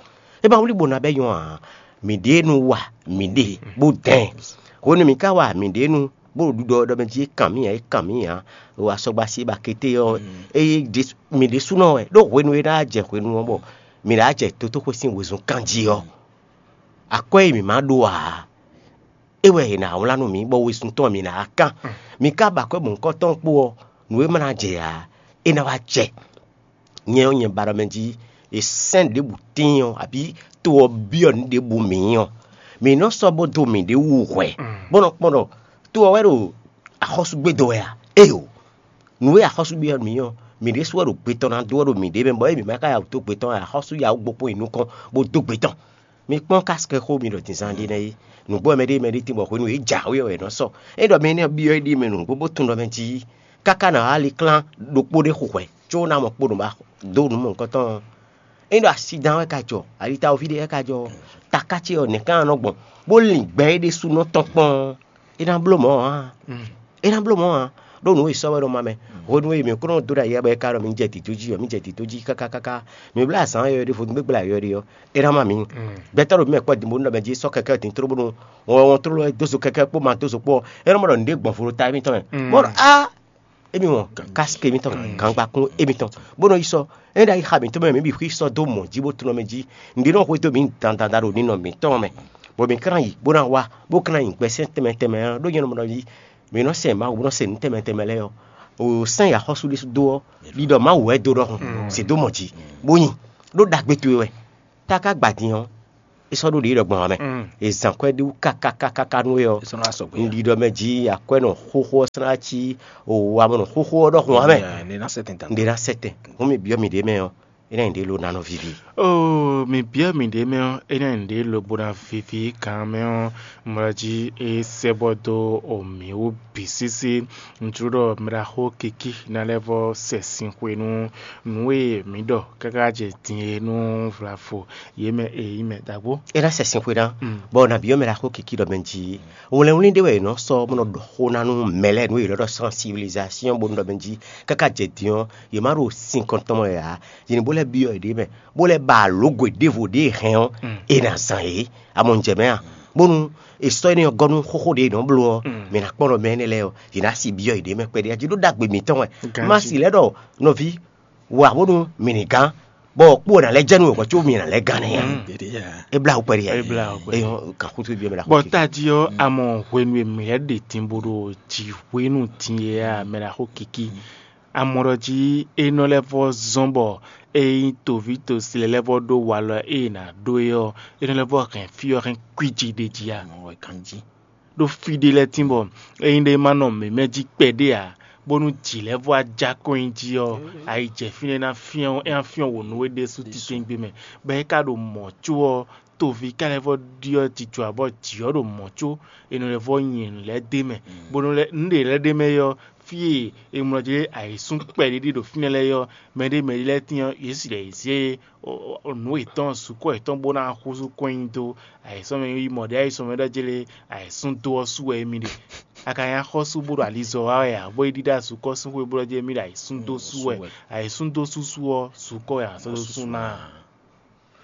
É ma wlí bo ná bɛ́ nyɔ ǎ, mǐ ɖe nu wa mǐ ɖe bó dɛn. Hwenu mǐ ka wa mǐ ɖe nu bó ɖo ɖiɖɔ ɖɔ mɛ jí é kan mì ǎ, é kan mì ǎ, o asɔgba sí ba kété ɔ́, eye mǐ ɖésúnɔ wɛ ɖó hwenu e ná jɛ hwenu ɔ́ bɔ mǐ ná jɛ dotóxwé sín wezun kan jí ɔ́, akwɛ́ e mǐ ma ɖó ǎ, é wɛ è nǎ wlán nú mǐ, bɔ wezun tɔn mǐ ná kán. Mǐ ka ba akwɛ́ mɔ̌hunkɔtɔn kpó ɔ́, nǔ e ma ná jɛ ǎ, é ná wá jɛ. Nyɛ ɔ́, nyɛ ba ɖɔ mɛ jí è sɛ́n ɖěbǔ tíin ɔ́, abǐ to ɔ́ byɔ́ nǔ ɖěbǔ mǐ ɔ́, mǐ nɔ sɔ́ bó dó mǐɖée wú hwɛ, bó nɔ kpɔ́n ɖɔ to ɔ́ wɛ ɖo axɔ́súgbé dó wɛ a? Éyo, nǔ e axɔ́súgbé ɔ́ mǐ ɔ́, mǐ ɖésú wɛ ɖo gbe tɔn ná dó wɛ ɖo mǐɖée mɛ, bɔ é mǐ ma ka ya wǔ dó gbe tɔn wɛ, axɔ́sú ya wú gbo kpɔ́n yi nukɔn bó dó gbe tɔn. Mi kpɔ́n kásikɛ xó mi ɖɔ dǐnzán ɖé nɛ́ é. Nǔgbó wɛ mɛ ɖé mɛ ɖé tín bɔ hwenu e é jǎwe ɔ́, è nɔ sɔ. É ɖɔ mɛ énɛ́ ɔ́ byɔ́ éɖíe mɛ nǔgbó bó tunwun ɖɔ mɛ jí káká ná wá ali klán ɖokpó ɖé xo hwɛ, có ná mɔ kpo nǔ ba dó nǔ mɔ̌hunkɔtɔn ɔ́. É ɖɔ asi dán wɛ ka jɔ, alitawoví ɖé wɛ ka jɔ, taká ce ɔ́, nɛ̌ ká nɔ gbɔn, bó lin gbɛ é ɖésúnɔ tɔn kpɔ́n, é ná bló mɔ̌ ǎ. É ná bló mɔ̌ ǎ, ɖó nǔ e sɔ́ wɛ nɔ ma mɛ. Hwenu e mǐ kó nɔ dó ɖo ayǐ bɔ é ka ɖɔ mi jɛ dǐdó jí ɔ́, mi jɛ dǐdó jí káká káká. Mi bló azǎn yɔyɔ̌ ɖé vodún gbégbé ayɔyɔ́ ɖé ɔ́, é ná má mǐ. Gbɛtɔ́ ɖo mǐ mɛ kpɔ́ din bó nɔ mɛ jí sɔ́ kɛkɛ́ din tló bónú wɔn wɔn tló wɛ dó zo kɛkɛ́ kpó ma dó zo kpó ɔ́, é nɔ mɔ ɖɔ nǔɖé gbɔn vo ɖo ta émítɔn mɛ. Bó ɖɔ á, émi wɔn kásikɛ émítɔn, gǎngbakún émítɔn, bó nɔ yi sɔ́. É ɖo ayixa mǐtɔn mɛ mǐ bǐ xwí sɔ́ dó mɔ̌ jí bó tunɔ mɛ jí. Nǔɖé nɔ xwedó mǐ dandan ɖo ninɔ mǐtɔn mɛ, bɔ mǐ ka ná yi bó ná wá, bó ka ná nyi gbɛsɛ́n tɛnmɛ tɛnmɛ ɔ́ ɖó nyɛ nɔ mɔ ɖɔ jí mǐ nɔ sɛ Mawu, bó nɔ sɛ nǔ tɛnmɛ tɛnmɛ lɛ́ɛ ɔ́, o sɛ́n yi axɔ́sú ɖésú dó ɔ́, ɖiɖɔ Mawu wɛ dó ɖɔhun, se dó mɔ jí, bó nyi. ɖó ɖagbe towe wɛ. Tá ka gba din ɔ́, é sɔ́ ɖó ɖě ɖɔ gbɔn ǎ mɛ. È zǎn kwɛ́ ɖé wú kákákákáká nú we ɔ́. Un ɖiɖɔ mɛ jí akwɛ́ nɔ xóxó ɔ́ slán cí o amɔ nɔ xóxó ɔ́ ɖɔhun ǎ mɛ. Ɖě ná sɛtɛn. Hǔn mi byɔ́ mì ɖě mɛ ɔ́, é ná nyí ɖě lo ná nɔ víví. Oo, mi byɔ́ mì ɖě mɛ ɔ́, é ná nyí ɖě lobo ná víví gán mɛ ɔ́, mlɔ́ jí é sɛ́ bɔ dó o mǐ wú bǐ sísí. Un jló ɖɔ mɛɖaxó Kiki ná lɛ́ vɔ sɛ sin xwe nú nǔ e mǐ ɖɔ káká jɛ din é nú vlavo yě mɛ e nyí mɛ ɖaxó. É ná sɛ sin xwe ná, bɔ nǎ byɔ́ mɛɖaxó Kiki ɖɔ mɛ jí wlɛnwlɛn ɖé wɛ è nɔ sɔ́ bó nɔ ɖɔ xó ná nú mɛ lɛ́ɛ nú yě nɔ ɖɔ sensibilisation bónú ɖɔ mɛ jí káká jɛ din ɔ́, yě má ɖo sin kɔntɔn mɛ ǎ. Yě ní bó lɛ́ byɔ́ yěɖée mɛ, bó lɛ́ ba alǒgwe ɖěvo ɖě e hɛn ɔ́, è nǎ zán yě. Amɔ un jɛ mɛ a? Bónú è sɔ́ énɛ́ ɔ́ gɔ́ nú xóxó ɖě è nɔ bló ɔ́, mǐ ná kpɔ́n ɖɔ mɛ énɛ́ lɛ́ɛ ɔ́, yě ná si byɔ́ yěɖée mɛ kpɛɖé. A jí ɖó ɖagbe mǐtɔn wɛ. Má si lɛ́ ɖɔ nɔví wa bónú mǐ ní gán, bɔ kpó ná lɛ́ jɛ nú wɛ hwɛ̌ có mǐ ná lɛ́ gán nɛ́ ǎ. É blá wú kpɛɖé ǎ. É blá wú kpɛɖé. Kan xútú byɔ́ mɛ ɖaxó. Bɔ tají ɔ́, a mɔ hwenu e mǐ lɛ́ ɖe din bó ɖo jǐ hwenu din é a, mɛ ɖaxó Kiki. A mɔ ɖɔ jí é nɔ lɛ́ vɔ zɔ́n bɔ é nyí toví tosi lɛ́ɛ lɛ́ vɔ ɖó walɔ e è nǎ ɖó é ɔ́, é nɔ lɛ́ vɔ hɛn fí ɔ́ hɛn kwíji ɖ'é jí a? Ɖó fí ɖé lɛ́ɛ tín bɔ ényí ɖé ma nɔ mǐmɛ́ jí kpɛɖé ǎ, bónú jǐ lɛ́ɛ vɔ ajá kɔn nyi jí ɔ́, ayi jɛ fínɛ́ ná fyɔ́n é ná fyɔ́n wǒ nú we ɖésú titewungbe mɛ, bɔ é ka ɖo mɔ̌ có ɔ́, toví ka lɛ́ vɔ ɖyɔ́ jijɔ ǎ bɔ jǐ ɔ́ ɖo mɔ̌ có è nɔ lɛ́ vɔ nyi nǔ lɛ́ɛ d'é mɛ, bó nɔ lɛ́ nǔ ɖě lɛ́ɛ d'é mɛ é ɔ́, fí e è mlɔ jí ayǐsún kpɛɖé ɖi ɖo fínɛ́ lɛ́ɛ é ɔ́, mɛɖé mɛɖé lɛ́ɛ tín ɔ́, yě si ɖɔ yě zé nǔ yětɔn sukɔ yětɔn bó ná húzú kɔn nyi dó ayǐsɔ́mɛ yi mɔ ɖě ayǐsɔ́mɛ ɖɔ jélé ayǐsún dó ɔ́ sú wɛ émí ɖe. A ka nyí axɔ́sú bó ɖo alizɔ wa wɛ ǎ, bó yi ɖíɖá sukɔ sín xwé bó ɖɔ jé émí ɖo ayǐsún dó sú wɛ. Ayǐsún dó sú sú ɔ́, sukɔ wɛ a sɔ́ dó sú ná a?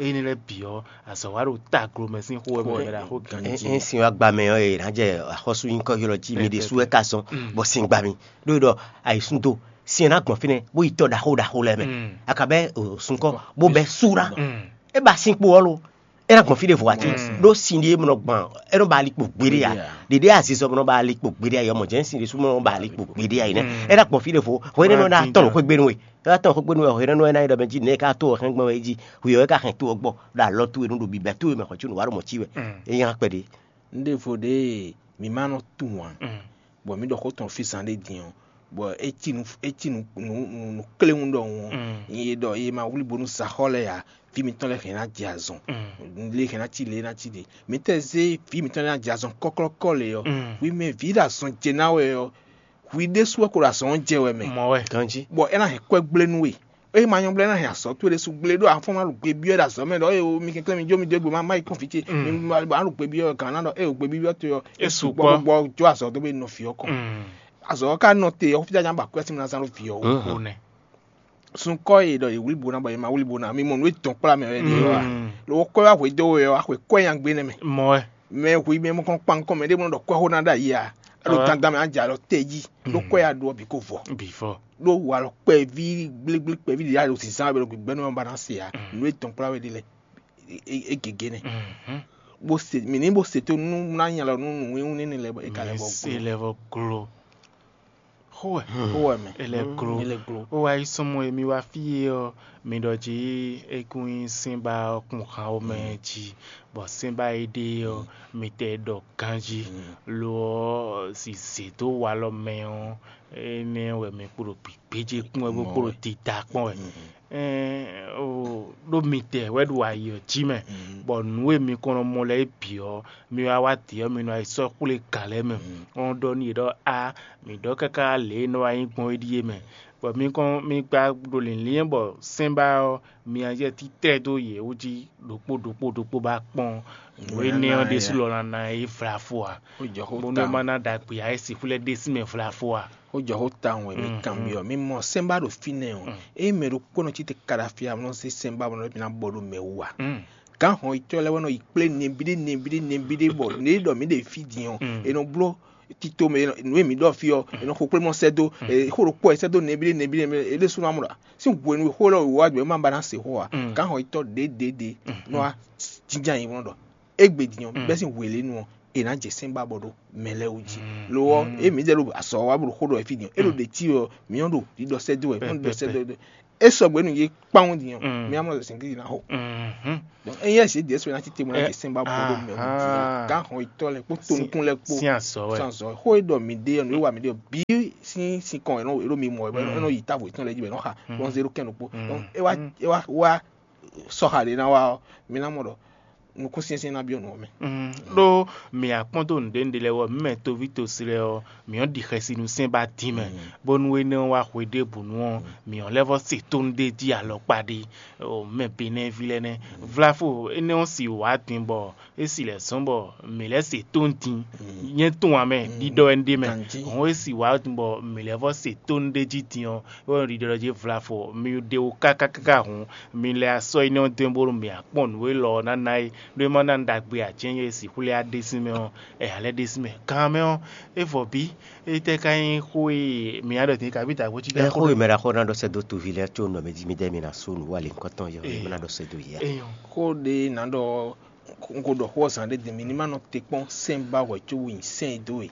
Énɛ́ lɛ́ɛ bǐ ɔ́, azɔ̌ wa ɖo taglo mɛ sín xó wɛ mɛ ɖaxó ganjí. Ényí sin wá gba mɛ ɔ́, è nǎ jɛ axɔ́sú nyíkɔ ylɔ́ jí mi ɖésú wɛ ka zɔn bɔ sin gba mi. Ɖó é ɖɔ ayǐsúndo sin ɔ́ ná gbɔn fínɛ́ bó yi tɔ ɖaxó ɖaxó lɛ́ɛ mɛ. A ka bɛ́ sunkɔ bó bɛ́ sú ná. É ba sin kpo ɔ́ lo. É ná gbɔn fí ɖěvo ǎ cé? Ɖó sin ɖé nɔ gbɔn, é nɔ ba ali kpo gbeɖé ǎ. Ɖěɖé azizɔ nɔ ba ali kpo gbeɖé ǎ, yɔmɔ jɛ́n sin ɖésú nɔ ba ali kpo gbeɖé ǎ yi nɛ́. É ná gbɔn fí ɖěvo, hwɛ̌ énɛ́ nɔ ná tɔn nǔ xwé gbénu we. É ná tɔn xwé gbénu wɛ, hwɛ̌ énɛ́ nɔ ná yi ɖɔ mɛ jí nɛ̌ é ká tó wɛ hɛn gbɔn wɛ é jí, hwi ɔ́ é ka hɛn tó ɔ́ gbɔ, ɖo alɔ towe nu ɖo bǐbɛ́ towe mɛ xɔ có nǔ wa ɖo mɔ cí wɛ. É nyí akpɛ ɖé. Un ɖěvo ɖé mi ma nɔ tunwun ǎ, bɔ mǐ ɖɔ xó tɔn fí zan ɖé din ɔ́, bɔ é cí nǔ é cí nǔ nǔ nǔ kléwún ɖɔhun ɔ́, nyɛ e ɖɔ e ma wlí bónú sa xɔ lɛ́ɛ ǎ, vǐ mitɔn lɛ́ɛ hɛn ná jɛ azɔn, lě hɛn ná cí lě ná cí ɖě. Mǐ tɛ zé vǐ mitɔn lɛ́ɛ ná jɛ azɔn kɔ́klɔ́kɔ́ lě ɔ́, hwi mɛ vǐ ɖo azɔn jɛ ná wɛ ɔ́, hwi ɖésú wɛ ko ɖo azɔn ɔ́ jɛ wɛ mɛ. Mɔ̌ wɛ. Ganjí. Bɔ é ná hɛn kwɛ́ gblé nú we. Ée ma nyɔ́ blɛ́ ná hɛn azɔ̌ towe ɖésú gblé ɖó afɔ́n ná ɖo gbe byɔ́ ɖo azɔ̌ mɛ ɖɔ ée mi kɛnklɛ́n mi jó mi dó gbe ma má yi kɔn fí ce mi ma ɖo gbe byɔ́ gǎn ná ɖɔ ée gbe byɔ́ towe ɔ́ é sukpɔ́ bó jɔ azɔ̌ dó bó yi nɔ fǐ ɔ́ kɔn. Azɔ̌ ɔ́ ka nɔ te ɔ́ fí ná ba kwɛ́ sín mi ná zán ɖó vǐ ɔ́ wú. Nɛ. Sunkɔ́ e ɖɔ yě wlí bo ná bɔ yě ma wlí bo ná mi mɔ nǔ e dɔn kplá mɛ wɛ ɖe ɔ́ a? Lo kɔ́ wá hwedó we ɔ́, axwe kɔ́ nyi agbe nɛ́ mɛ. Mɔ wɛ. Mɛ hu mɛ mɔ kɔn kpan kɔn mɛ ɖé mɔ ɖɔ kɔ́ xó ná ɖo ayi a? Ɖo dandan mɛ á jɛ alɔ tɛ jí ɖó kɔ́ ya ɖu ɔ́ bǐ ko vɔ. Bǐ vɔ. Ɖó walɔ kpɛví gblégblé kpɛví ɖě ɖo zǐnzán wɛ ɖo gbígbɛ́nú ɔ́ ba ná se ǎ. Nǔ e dɔn kplá we ɖe lɛ́ɛ é gěgé nɛ́. Bó se mǐ ní bó se tó nú ná nya lɔ nú nǔwínwín énɛ́ lɛ́ɛ bɔ é ka lɛ́ vɔ se glo. Lɛ́ vɔ glo. Xó wɛ. Xó wɛ mɛ. É lɛ́ glo. É lɛ́ glo. Ó wá yi sɔ́ mɔ émí wá fí e ɔ́, mi ɖɔ jí é kún nyí sɛ́nbá ɔ́ kún han ó mɛ jí, bɔ sɛ́nbá e ɖe ɔ́, mi tɛ ɖɔ ganjí. Lo ɔ́, si zě dó walɔ mɛ ɔ́, énɛ́ wɛ mi kpo ɖo gběgbéjé kpɔ́n wɛ bó kpo ɖo dida kpɔ́n wɛ. Ɛn, o, ɖó mi tɛ wɛ ɖo ayi ɔ́ jí mɛ, bɔ nǔ e mi kɔn nɔ mɔ lɛ́ɛ bǐ ɔ́, mi wá wá dǐ ɔ́, mi nɔ yi sɔ́ xwlé gǎn lɛ́ɛ mɛ. Ɔ́ ɖɔ n'i ɖɔ a, mǐ ɖɔ káká lě e nɔ wá nyí gbɔn é ɖíe mɛ, bɔ mi kɔn mi gba ɖo lǐnlín bɔ sɛ́nbá ɔ́, mi ná jɛ títɛ́ dó yě wú jí ɖokpó ɖokpó ɖokpó ba kpɔ́n nǔ énɛ́ ɔ́ ɖésú lɔ ná ná yí vlafo ǎ. Bónú é má ná ɖagbe ǎ, é sixú lɛ́ ɖe sín mɛ vlafo ǎ. Ó jɔ xó tawun wɛ mi kanbyɔ́ mi mɔ sɛ́nbá ɖo fínɛ́ ɔ́, ényí mɛ ɖokpó nɔ cí te kaɖafi amlɔ sí sɛ́nbá bɔ nɔ ná bɔ ɖo mɛ wú ǎ. Gǎn hɔn yitɔ́ lɛ́ɛ wɛ nɔ yi kplé nɛbíɖé nɛbíɖé nɛbíɖé bɔ nǔ e ɖɔ mǐ ɖe fí din ɔ́, è nɔ bló tito mɛ nǔ e mǐ ɖɔ fí ɔ́, è nɔ xo kplé mɔ sɛ́ dó, xó ɖokpó wɛ sɛ́ dó nɛbíɖé nɛbíɖé mɛ é ɖésú ná mɔ ɖɔ sín hwenu e xó lɔ wǒ wá gbɛ é má ba ná se xó ǎ. Gǎn hɔn yitɔ́ ɖěɖěɖě nɔ wá jínjɔ́n ayǐ nɔ ɖɔ égbé din ɔ́, bɛ́ sín hwelěnu ɔ́, è nǎ jɛ sɛ́n ba bɔ ɖo mɛ lɛ́ɛ wú jí. Lo ɔ́, ée mǐdɛɛ ɖo azɔ̌ wa bó ɖo xó ɖɔ wɛ fí din ɔ́, é ɖo ɖě cí ɔ́, mǐ nɔ ɖo ɖiɖɔ sɛ́ dó wɛ, mǐ nɔ ɖiɖɔ sɛ́ dó wɛ. É sɔgbe nú yě kpawun din ɔ́, mǐ ná mɔ ɖɔ sɛ̌n Klísu ná xo. Donc ényí ɛsě Jésù ná títí mɔ ná jɛ sɛ́n ba bɔ ɖo mɛ wú din ɔ́, gǎn hɔn yětɔn lɛ́ɛ kpó tonukún lɛ́ɛ kpó sín azɔ̌ wɛ. Sín azɔ̌ wɛ. Xó e ɖɔ mǐ ɖe ɔ́, nǔ e wa mǐ ɖe ɔ́, bǐ sín sín kɔn è nɔ è ɖo mi mɔ è nɔ yi távo yětɔn lɛ́ɛ jí bɔ è nɔ xa bɔn zé ɖó kɛn ɖokpó. Donc é wá é wá wá sɔxa ɖě ná wá ɔ́, mi ná mɔ ɖɔ nukúnsyɛ́nsyɛ́n ná byɔ́ nǔ ɔ́ mɛ. Ɖó mǐ wá kpɔ́n dó nǔɖé nǔɖé lɛ́ɛ wú ɔ́, mǐ mɛ toví tosí lɛ́ɛ ɔ́, mǐ nɔ́ ɖi xɛsi nú sɛ́n ba dín mɛ, bónú énɛ́ ɔ́ wá hwe ɖěbǔ nu ɔ́, mǐ ɔ́ lɛ́ vɔ́ se tónú ɖé jí alɔkpa ɖé. Mɛ Benɛ́ví lɛ́ɛ nɛ́. Vláfo énɛ́ ɔ́ si wǎ din bɔ é si lɛ̌ zɔ́n bɔ mǐ lɛ́ se tónú din. Nyɛ tunwun ǎ mɛ, ɖiɖɔ wɛ un ɖe mɛ. Hɔn é si wǎ din bɔ mǐ lɛ́ vɔ́ se tónú ɖé jí din ɔ́, é wɛ ɖiɖɔ jí Vláfo mi ɖe wú káká káká hǔn, mi lɛ asɔ énɛ́ ɔ́ dó bónú mǐ akpɔ́n nǔ élɔ́ ɔ́ ná ná é, ɖó é má ná ɖagbe ǎ cɛ́n é sixú lɛ́ á ɖe sín mɛ ɔ́, ɛ ǎ lɛ́ ɖe sín mɛ. Kan mɛ ɔ́, é vɔ bí, étɛ́ ka nyí xó e mǐ ná ɖɔ din kabí dǎgbó cí ɛ xó e mɛ ɖaxó ná ɖɔ sɛ́ dó toví lɛ́ɛ có nɔ mɛ jí mì dɛ́ mi ná sú nǔ wa lě nyǐkɔ tɔn yɔ é má ná ɖɔ sɛ́ dó yě a. Eyɔn. Xó ɖé ná ɖɔ un ko ɖɔ xó ɔ́ zǎn ɖé din, mi ní má nɔ te kpɔ́n sɛ́n ba hwɛ có wú nyi sɛ́n e dó e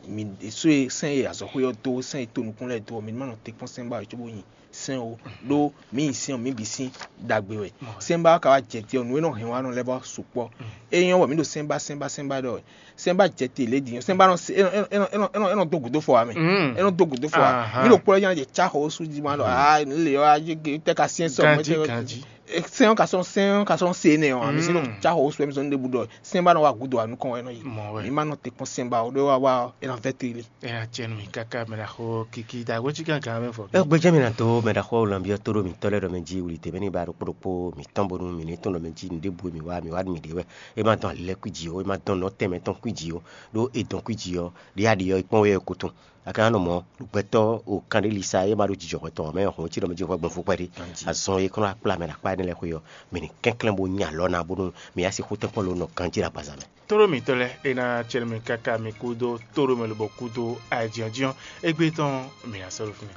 mi ɖésú e sɛ́n e azɔ̌xwé ɔ́ dó, sɛ́n e tonukún lɛ́ɛ dó ɔ́, mi ní má nɔ te kpɔ́n sɛ́n ba hwɛ có wú nyi sɛ́n o. Ɖó mǐ nyi sɛ́n ɔ́, mǐ bǐ sín ɖagbe wɛ. Sɛ́n ba ɔ́ ka wá jɛ te ɔ́, nǔ e nɔ hɛn wá nɔ lɛ́ɛ vɔ sukpɔ́. É nyɔ́ bɔ mǐ ɖo sɛ́n ba sɛ́n ba sɛ́n ba ɖɔ wɛ. Sɛ́n ba jɛ te lě din ɔ́, sɛ́n ba nɔ se é nɔ é nɔ é nɔ é nɔ é nɔ dó gǔdo fɔ wá mɛ. É nɔ dó gǔdo fɔ wá. Mǐ ɖo kpɔ́ jɛ jɛ cá xɔ sú jí ma ɖɔ aa lě ɔ́ a jɛ gbe tɛ ka syɛ́n sɔ mɛ tɛ. Sɛ́n ɔ́ ka sɔ́ sɛ́n ɔ́ ka sɔ́ se énɛ́ ɔ́, mi sí nɔ cá xɔ sú wɛ mi sɔ́ nú ɖěbǔ ɖɔ sɛ́n ba nɔ wá gǔdo wá nukɔn wɛ nɔ yi. Mɔ̌ wɛ. Mi ma nɔ te kpɔ́n sɛ́n ba ó ɖé wá wá ɔ́, é ná vɛ́ te lé. É ná cɛ nú mì káká mɛ ɖaxó kiki dǎgbó cí gángan mɛ fɔ. Ɛ gbɛjɛ mi na dó mɛ ɖaxó lanbiɔ tó ɖo mǐtɔn lɛ́ɛ ɖɔ mɛ jí wuli tɛmɛ ní ba ɖo kpóɖokpó mǐtɔn bónú mǐ ní tɔn ɖɔ mɛ jí nǔɖé bú mǐ wá mǐ wá mǐ ɖe wɛ. É ma dɔn alilɛ́ kwí jí ó, é ma dɔn nɔ tɛnmɛ tɔn kwí jí ó, ɖó è dɔn kwí jí ɔ́, ɖě a ɖi ɔ́, é kpɔ́n wɛ é ko tɔn. A ka nɔ mɔ gbɛtɔ́ o kanɖélisa e ma ɖo jijɔxɔ tɔn mɛ hɔn cí ɖɔ mɛ jí hwɛ gbɔn fukpɛ ɖi. Azɔn e kɔnɔ akplá mɛ ɖo akpá énɛ́ lɛ́ɛ xwe ɔ́, mǐ ní kɛnklɛ́n bó nyi alɔ ná bónú mǐ yá sixú tɛ́nkpɔ́n ló nɔ ganjí ɖo agbaza mɛ. Tóɖó mǐtɔn lɛ́ɛ é ná cɛ́nú mì káká mi kú dó tóɖó mɛ lobɔ kú dó ayǐjínjɔ́n égbé tɔn mǐ ná sɔ́ ɖo fínɛ́.